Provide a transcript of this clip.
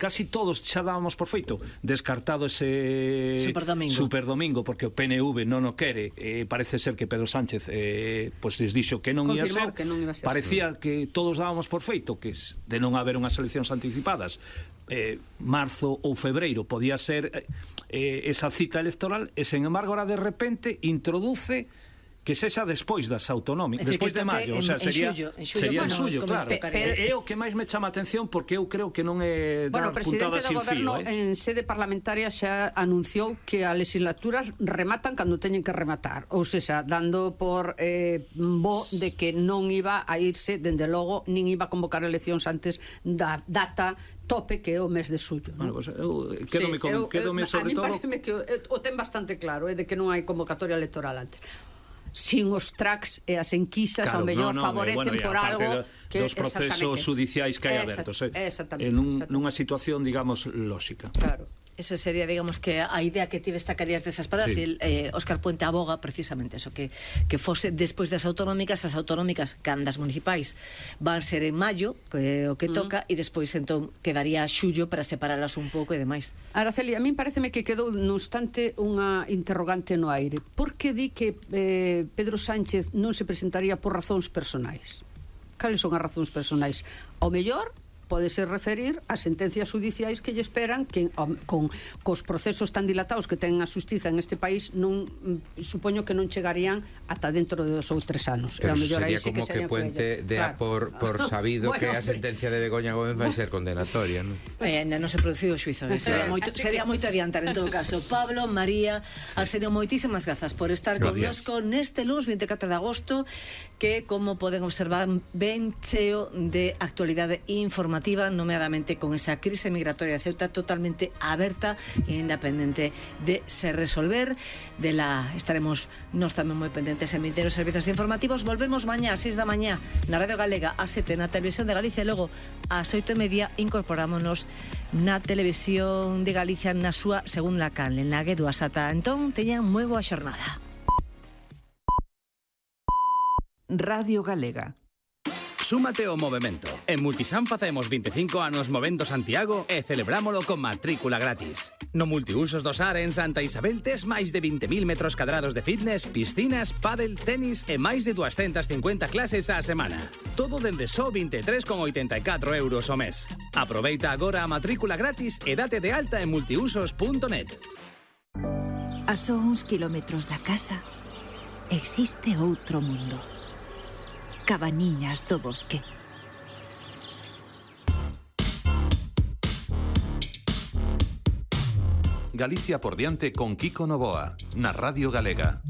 casi todos xa dábamos por feito, descartado ese Superdomingo, porque o PNV non o quere, parece ser que Pedro Sánchez pois les dixo que non ia ser, parecía que todos dábamos por feito que de non haber unhas eleccións anticipadas, marzo ou febreiro podía ser esa cita electoral, e sen embargo ahora de repente introduce que sexa despois das autonómicas, despois de maio, o sea, sería en xullo, claro. É o que máis me chama a atención, porque eu creo que non é dar puntadas sin fío. O presidente do goberno en sede parlamentaria xa anunciou que as legislaturas rematan cando teñen que rematar, ou seja, dando por bo de que non iba a irse, dende logo, nin iba a convocar eleccións antes da data tope que é o mes de xullo. Bueno, pues, quedome sobre todo... A mí pareceme que o ten bastante claro, de que non hai convocatoria electoral antes. Sin os tracks e as enquisas ao mellor favorecen por algo que dos procesos judiciais que hai abertos, nunha situación, digamos, lóxica. Claro. Esa sería, digamos, que a idea que tive destacarías desas palabras, e Óscar Puente aboga precisamente eso, que fose despois das autonómicas, as autonómicas candas municipais van ser en maio, o que toca, e despois entón quedaría xullo para separalas un pouco e demais. Araceli, a min pareceme que quedou no instante unha interrogante no aire. Por que di que Pedro Sánchez non se presentaría por razóns personais? Cales son as razóns personais? Ao mellor pódese referir a sentencias judiciais que lle esperan, que cos procesos tan dilatados que ten a xustiza en este país, non supoño que non chegarían ata dentro de 2 ou 3 anos. Pero sería como que Puente dea por sabido que a sentencia de Begoña Gómez vai ser condenatoria, non? Non se produciu o xuizo, sería moito adiantar en todo caso. Pablo, María, Arsenio, moitísimas grazas por estar connosco neste luns 24 de agosto, que, como poden observar, ben cheo de actualidade informativa, nomeadamente con esa crise migratoria de Ceuta totalmente aberta e independente de se resolver. Estaremos nós tamén moi pendentes en vindeiros servizos informativos. Volvemos mañá ás 6 da mañá na Radio Galega, ás 7 na Televisión de Galicia, e logo ás 8:30 incorporámonos na Televisión de Galicia na súa segunda canle, na Guedu Asata. Entón, teñan moi boa xornada. Radio Galega. Súmate ao movemento. En Multisan facemos 25 anos movendo Santiago e celebrámolo con matrícula gratis. No Multiusos do Sar en Santa Isabel tes máis de 20.000 metros cadrados de fitness, piscinas, pádel, tenis e máis de 250 clases á semana. Todo dende só 23,84 euros ao mes. Aproveita agora a matrícula gratis e date de alta en multiusos.net. A só uns kilómetros da casa existe outro mundo. Cabaniñas do Bosque. Galicia por diante con Kiko Novoa, na Radio Galega.